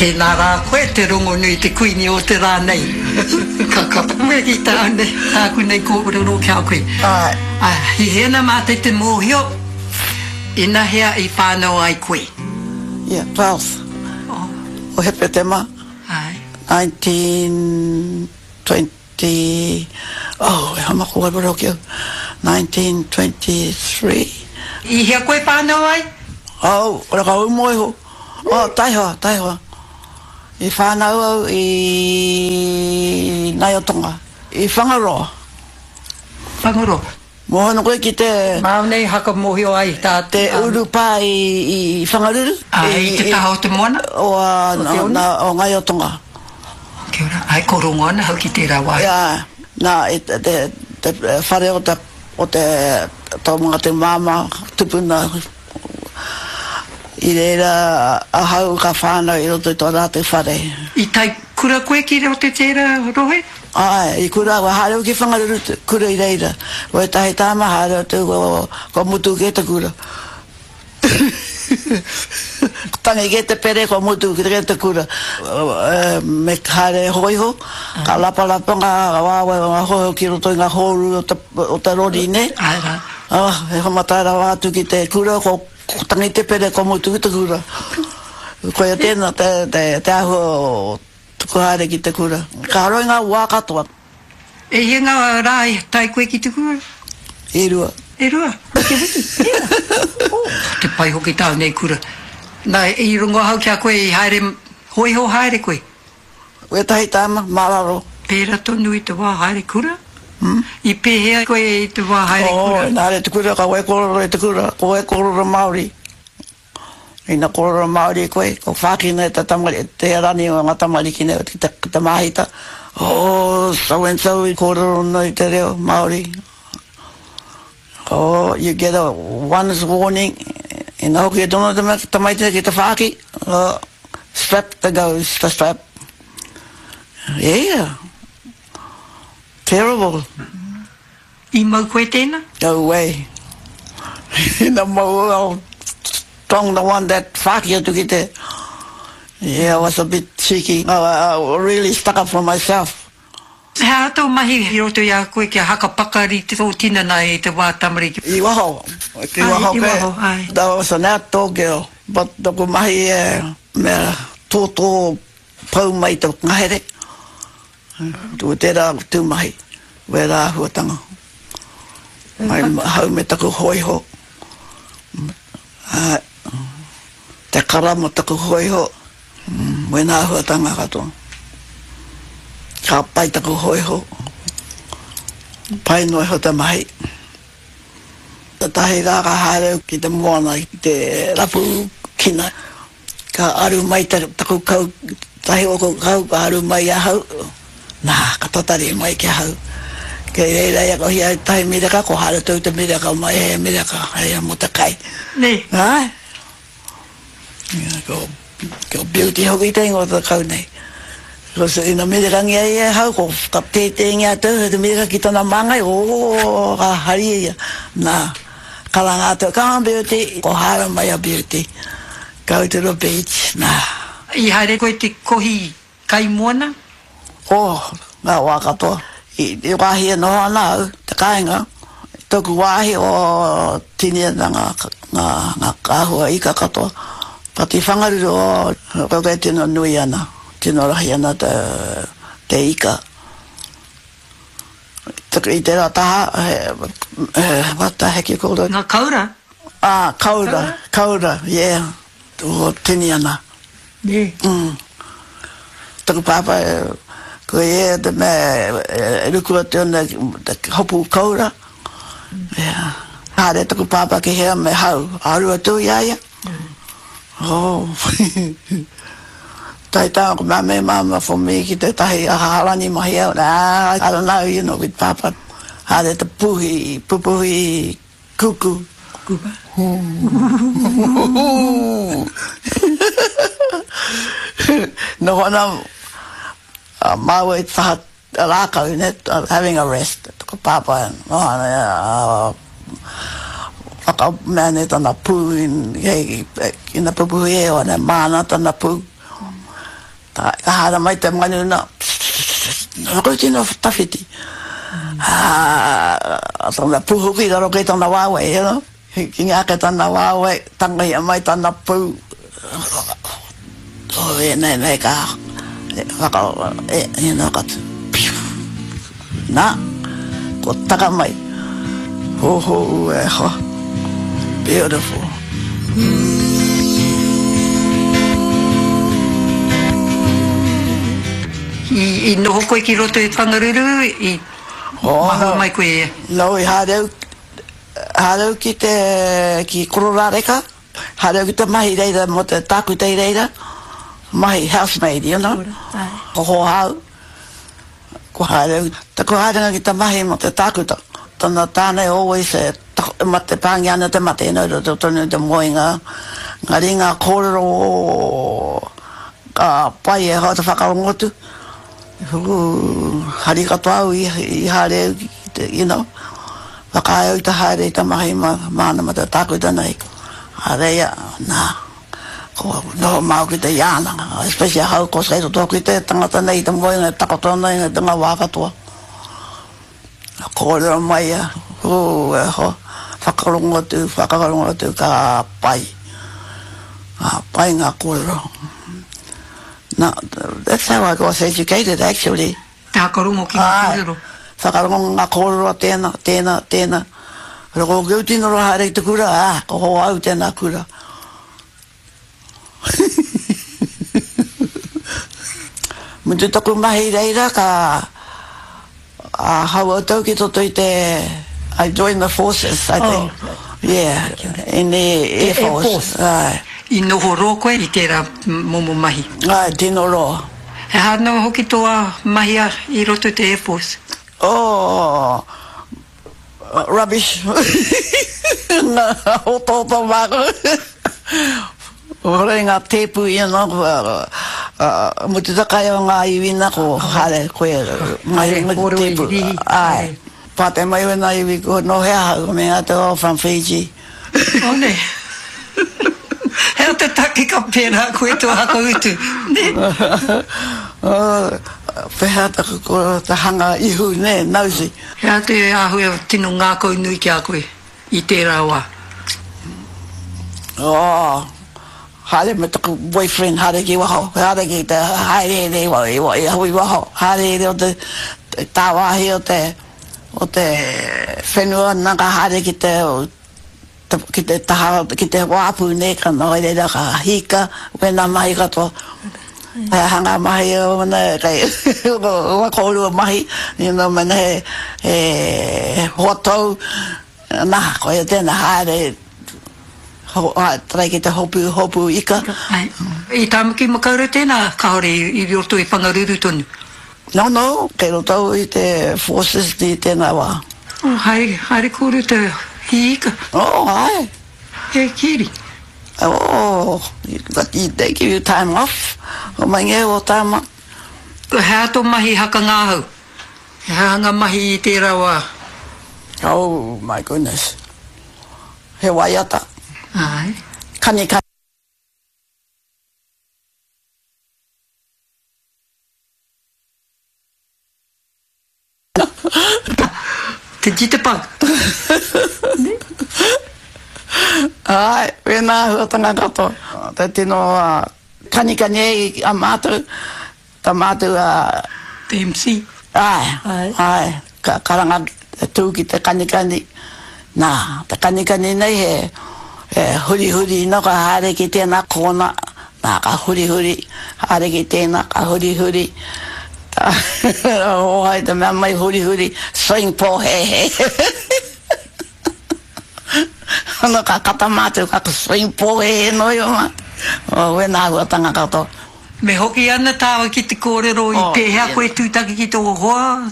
Tēnā rā koe te rongonui te kuini o te rā nei. Ka ka wehi tāu nei, tāku nei kōrero ki a koe. Āe. Ā, hihi ana mātou te mōhio, inahea i whānau ai koe? Ia, 12th o Hepetema. Āe. 1920. Te, oh, e hama ko wai hoki au, 1923. I hea koe whanau ai? Oh, ora ka umo iho. Oh, taihoa, taihoa. I whanau au i Naiotonga, i Whangaroa. Whangaroa. Moho ana koe ki te. Māu nei haka mōhio ai tā. Te urupā i Whangaruru. Āe, i te taha o te moana. O, nā, o Ngaiotonga. Kia ora. Āe, ko rongo ana hau ki tērā wāhi. Āe, nā, i te, te, te whare o te, o te, tō mātou māmā tupuna, i reira ahau ka whānau i roto i tō rātou whare. I tae kura koe ki roto i tērā rohe? Āe, i kura au, haere au ki Whangaruru te kura i reira. Ko ētahi tāma haere atu, kua mutu kē te kura. Tangi kē te pere, kua mutu kē te kura. Me haere hōiho, ka lapalapa ngā waewae o ngā hōiho ki roto i ngā hōru o te rori, nē? Āe rā. He whamatai rawa atu ki te kura, ko tangi te pere, kua mutu te kura. Koia tēnā te āhua o Tuku haere ki te kura. Ka roa i ngā wā katoa. E hia ngā rā i tae koe ki te kura? E rua. E rua? I te wiki? Tēnā. Oh, te pai hoki tāu nei kura. Nā, i rongo ahau ki a koe i haere, hōiho haere koe? Wētahi tāma, mā raro. Pērā tonu i te wā haere kura? I pēhea koe i te wā haere kura? Oh, ina haere te kura, ka waikōrero i te kura, ko waikōrero Māori. Ina kōrero Māori koe, ko whākina e te tamari, te rani o ngā tamariki nei ki te, ki te māhita, oh, so and so i kōrero nei te reo Māori. Oh, you get a one's warning, ina hoki e tono te tamaiti nei ki te whāki, oh, strap the goes, the strap. Yeah, terrible. I mau koe tēnā? No way. Ina mau au, strong the one that whāki atu ki te, yeah, I was a bit cheeky. I, I really stuck up for myself. He aha tō mahi i roto i a koe kia haka pakari tō tinana i te wā tamariki? I waho, ki waho koe. I waho, āe. I was an outdoor girl, but taku mahi e mea tōtō pau mai te ngahere. Ko tērā tū mahi, wērā āhuatanga. Mai ahau me taku hōiho, āe, te kara mo taku hōiho, wēnā āhuatanga katoa. Ka pai taku hōiho, pai noa iho te mahi. Tētahi rā ka haere au ki te moana ki te rapu kina. Ka aru mai taku kau, tahi oku kau ka aru mai ahau, na, ka tatari mai ki ahau. Kei reira ia ko hia tahi miraka, ko haere tou te miraka mai he miraka, hei mo te kai. Nei. Ae. Ia, ko, ko Beauty hoki te ingoa o te kau nei. Ko ina mirakangia ia e hau, ko ka tētēngia atu te miraka ki tana māngai, oh, ka hari ia. Na, Karanga atu, Come on Beauty! Ko haere mai a Beauty. Go to the beach, nā. I haere koe te kohi kai moana? Oh, ngā wā katoa. I te wāhi e noho ana au, te kāinga, tōku wāhi, oh, tini ana ngā, ngā, ngā āhua ika katoa. But i Whangaruru, oh, koe tino nui ana, tino rahi ana te, te ika. I tērā taha, he, what the heck you call it? Ngā kaura? Ā, kaura, kaura, yeah, o tini ana. Nē. Mm. Taku pāpā, ko ia te mea e ruku atu ana te hopu kaura. Yeah. Haere taku pāpā ki hea me hau, aru atu i a ia. Oh. Tae tāna ko mea me māma for me ki tētahi aha harani mahi au, ah, I don't know, you know, with pāpā. Haere te puhi, pupuhi kuku. Kupa. Noho ana a māua i te taha rākau, ne, having a rest, ko pāpā, noho ana ia, whakamea nei tana pū, ina pupuhi e ana, māna tana pū. Ka haere mai te manu na, Ko tino tawhiti. Ā, tana pū hoki i raro kei tana waewae, you know. Hīkina ake tana waewae, tangohia mai tana pū. Oh, ēnei nei ka whaka, you know, ka piu. Nā, ko taka mai. Ho ho e hoa. Beautiful. I noho koe ki roto i Whangaruru, i mahue mai koe e? No, i haere au, haere au ki te, ki Kororareka, haere au ki te mahi reira mo te tākuta i reira, mahi housemaid, you know, ko hoa au. Ko haere au, taku haerenga ki te mahi mo te tākuta, tana tāne always e mate pāngia ana te mate, no roto tonu te moenga, engari ngā kōrero ka pai e hoa te whakarongo atu, hari katoa au i haere au ki te, you know, whakaae au i te haere i te mahi māna ma te tākuta nei, haere ia, nā. Ko noho māu ki te iāna, especially ahau ko kei roto hoki te tangata nei i te moenga e takoto ana i ngā wā katoa. Ka kōrero mai ia, ū, e hoa, whakarongo atu, whakarongo atu, ka pai. Ka pai ngā kōrero. Na, that's how I got educated actually. Te whakarongo ki ngā kōrero. Āe, whakarongo ngā kōrero a tēnā, tēnā, tēnā. Ko au tino roa haere ki te kura, ā, ko hoa au tēnā kura. Mutu taku mahi reira ka hau au ki toto i te I joined the forces I think. Oh. Yeah, in the Air Force. Air Force. Aye. I noho roa koe i tērā momo mahi? Aye, tino roa. He aha noa hoki tō mahi i roto i te Air Force? Oh, Rubbish. Ngā otaota māku. Hore ngā tēpu ia nō, mutu te kai o ngā iwi nā ko haere koe ngā tēpu. Āe. Pātai mai wēnā iwi ko nō hea ahau, ko mea atu oh from Fiji. Oh nē. He aha te take ka pērā koe tō whakautu, nē? Pēhea taku kōrero te hanga ihu, nē, nosy. He aha te āhua tino ngākaunui ki a koe i tērā wā? Oh, haere me taku boyfriend, haere ki waho, haere ki te haereere i waho, haereere o te tāwāhi o te, o te whenua, nā ka haere ki te, ki te taha, ki te wāpu nei, ka noho i reira, ka hika, wēnā mahi katoa. He aha ngā mahi o ana, kei, ua kōrua mahi, you know, mena he, he hoa tou, nā, koia tēnā, haere, ho, try ki te hopu, hopu ika. I Tāmaki Makaurau tēnā, kāore i roto i Whangaruru tonu? No, no, kei roto au i te forces i tēnā wā. Oh, haere, haere kōrua te hī ika. Oh, hae. He kiri. Oh, but they give you time off. O mai ngē o tāma. He aha tō mahi haka ngahau? He aha ngā mahi i tērā wā? Oh, my goodness. He waiata. Āe. Kanikani. Te jitterbug. Āe, wēnā āhuatanga katoa. Te tino kanikani ai a mātou, ta mātou a... Te MC. Āe, āe, ka karanga tū ki te kanikani. Nā, te kanikani nei he, he hurihuri no ka haere ki tēnā kōna, nā ka hurihuri, haere ki tēnā, ka hurihuri. Hōhai te mea mai hurihuri, swing pōhēhē. Ana ka kata mātou, ka swing pōhēhē noa iho mātou. Oh, wēnā āhuatanga katoa. Me hoki ana tāua ki te kōrero i pēhea koe tūtaki ki tō hoa?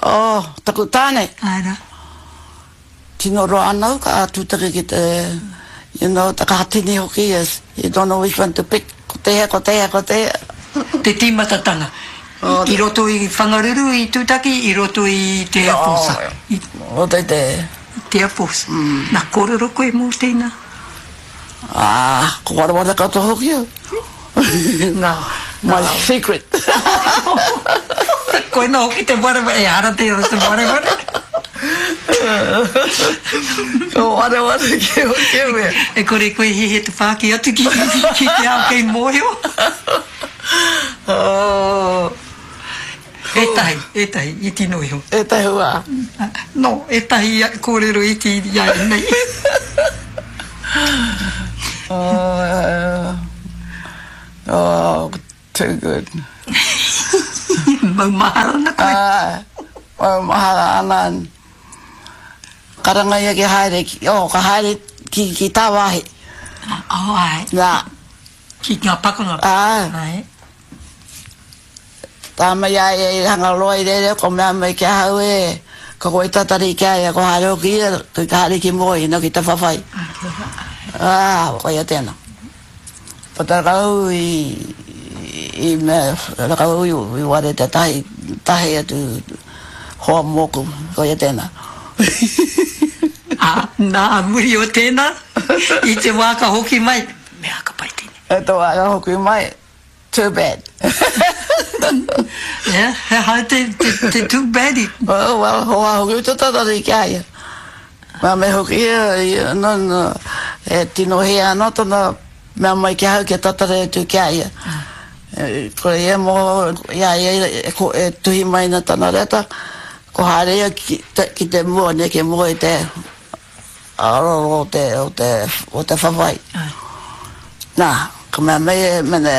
Oh, taku tāne. Āe rā. Tino roa ana au ka tūtaki ki te, you know, te kātini hoki, yes, you don't know which one to pick, ko tēhea, ko tēhea, ko tēhea. Te tīmatatanga. I roto i Whangaruru i tūtaki, i roto i te Air Force. I roto i te. Te Air Force. Nā, kōrero koe mō tēnā? Ā, ko wareware katoa hoki au. Ngā, My secret. Koina hoki te wareware, ehara tērā te wareware. Ko wareware ki o ke mea. E kore koe hiahia te whāki atu ki, ki te ao kei mōhio. Oh. Ētahi, ētahi, iti noa iho. Ētahi wā. No, ētahi kōrero iti i a nei. Oh, oh, too good. Maumahara ana koe. Āe, maumahara ana. Karanga ia ki haere, ki, oh, ka haere ki, ki tāwāhi. Oh, āe. Nā. Ki ngā pakanga. Āe. Āe. Tā mai a ia i Hangaroa i reira, ko mea mai ki ahau e, ko koe tatari ki a ia, ko haere hoki ia, ka haere ki mua ina ki te whawhai. Ā, koia tēnā. Puta rau i, i mea, rakau i, i ware te tahi, tahi atu hoa mōku, koia tēnā. Ā, nā, muri o tēnā, i te wā ka hoki mai, mea ka pai tēnei. I te wā ka hoki mai, Too bad. Yeah, he aha te, te, te too bad i? Oh, well, hoa hoki te tatari ki a ia. Mea me hoki ia, ia, no, no, e tino hē ana tana mea mai ki ahau kia tatari atu ki a ia. E, ko ia mo, i a ia e, ko, e tuhi mai ana tana reta, ko haere ia ki te, ki te mua, neke mua i te, Aroro o te, o te, o te whawhai. Nā, ka mea mei e mene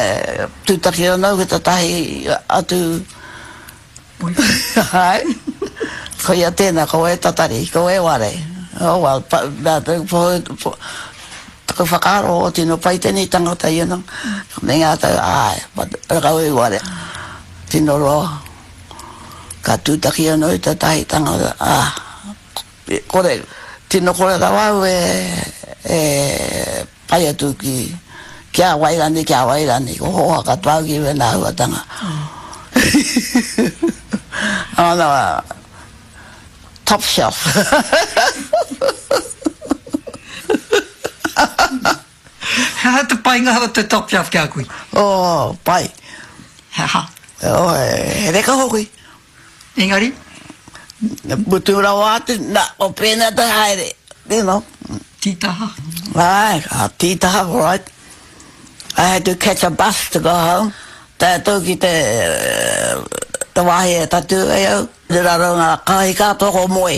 tūtaki ana au ki tētahi atu Āe. Koia tēnā, ko e tatari, ko e ware. Oh well, pa, mea te, po, po, taku whakaaro, o tino pai tēnei tangata, you know. Ka meinga atu, āe, but rakau i ware. Tino roa. Ka tūtaki anō i tētahi tangata, ā, Kore, tino kore rawa au e pai atu ki, ki a wai rani, ki a wai rani, ko hoa katoa au ki wena ahuatanga. Oh no, top shelf. He aha te painga o te top shelf ki a koe? Oh, pai. He aha? Oh, he reka hoki. Engari? Mutu rawa atu, na, ko pēnā te haere, you know. Tītaha. Āe, ka tītaha, right. I had to catch a bus to go home. Tae atu ki te, te wāhi e tatū ai au. I raro ngā kāhika katoa ko moe.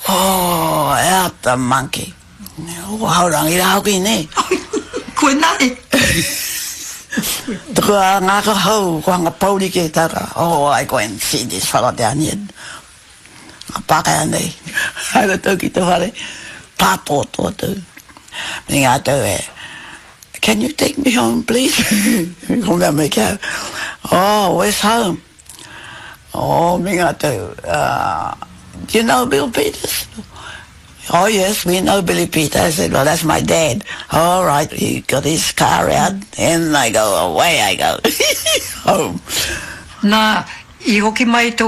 Oh, out the monkey. Ko Haurangi rā hoki, nē? Koinā e. Tuku a ngākau hou, ko hanga pouri ke tara. Oh, I go and see this fella down here. Ngā Pākehā nei. Haere atu ki te whare, pātōtō atu. Me ngā tau e, Can you take me home, please? Ko mea mai ki au, Oh, where's home? Oh, me ngā tau, do you know Bill Peters? Oh yes, we know Billy Peters. I said, well, that's my dad. All right, he got his car out and I go, away I go, home. Nā, i hoki mai tō,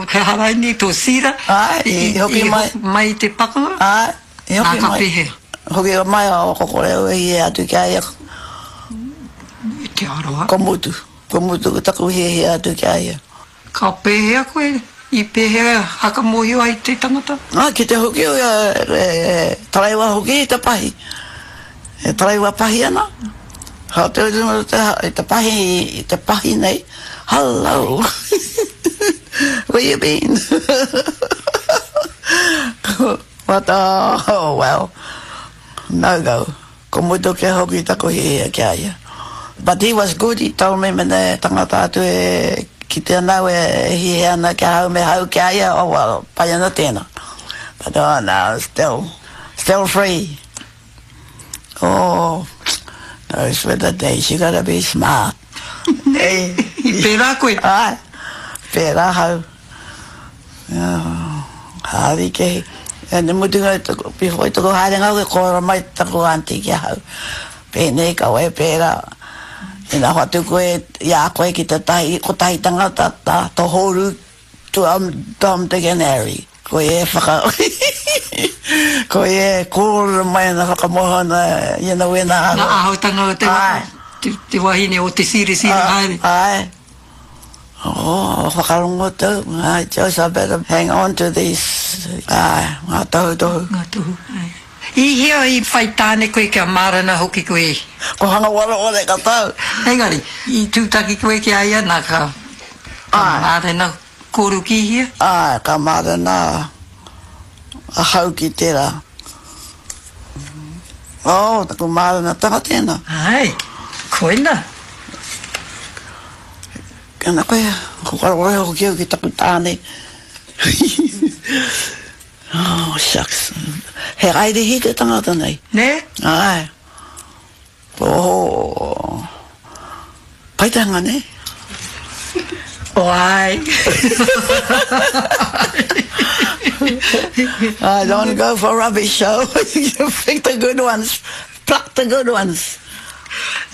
he aha raini, tō Sira? Āe, i hoki mai. I hoki mai i te pakanga? Āe, i hoki mai. Nā, ka pēhea? Hoki mai a ko kore au e hia atu ki a ia. Te aroha. Ko mutu. Kua mutu taku hiahia atu ki a ia. Ka pēhea koe? I pēhea whakamōhio ai te tangata? Ā, ki te hoki e taraiwa hoki i te pahi. E taraiwa pahi ana. Ka te i te pahi, i te pahi nei, Hello! Where you been? But, oh, well, no go. Ko mutu ke hoki taku hiahia ki a ia. But he was good, he told me mena e tangata atu e kite ana au e hiahia ana ki ahau me hau ki a ia, oh well, pai ana tena. But oh no, still, still free. Oh, those were the days, you gotta be smart. I pērā koe? Āe, pērā ahau. Haere kē. And te mutunga, before i taku haerenga hoki, kōrero mai taku aunty ki ahau. Pēnei, kaua e pērā. Ina hoatu koe i a koe ki tētahi, kotahi tangata, tā, tō hōru, to Tom, Dick and Harry. Koe e whaka, koe e kōrero mai ana, whakamoho ana, you know, wēnā āhua. Ngā āhuatanga o te waka. Āe. Te wahine o te sirisiri haere. Āe. Oh, whakarongo tau. I just I better hang on to these, āe, ngā tohutohu. Ngā tohu, āe. I hea i whai tāne koe kia mārena hoki koe? Ko Hangawareware ka tau. Engari, i tūtaki koe ki a ia, nā ka, ka mārena kōru ki hea? Āe, ka mārena ahau ki tērā. Oh, taku mārenatanga tēnā. Āe, koina. Tēnā koe, ko whakarohe hoki au ki taku tāne. Oh, shucks. He Airihi te tangata nei. Nē? Āe. Oh, pai te hanga, nē? Oh, āe. I don't go for rubbish, so you pick the good ones, pluck the good ones.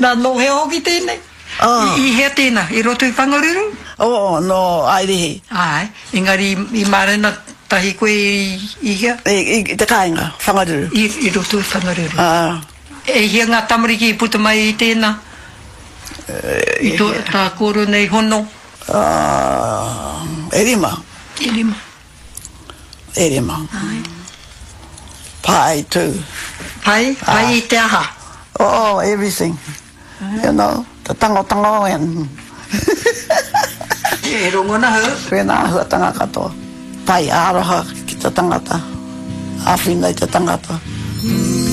Nā, nō hea hoki tēnei? Oh. I hea tēnā? I roto i Whangaruru? Oh, nō Airihi. Āe, engari i mārena tahi koe i hea? I te kāinga, Whangaruru. I roto i Whangaruru. Ā. E hia ngā tamariki i puta mai i tēnā? I tō tā kōrua nei hono? E rima. E rima. E rima. Āe. Pai tū. Pai? Pai i te aha? Oh, everything. You know, te tangotango and. E rongona hau. Wēnā āhuatanga katoa. Pai aroha ki te tangata. Āwhina i te tangata.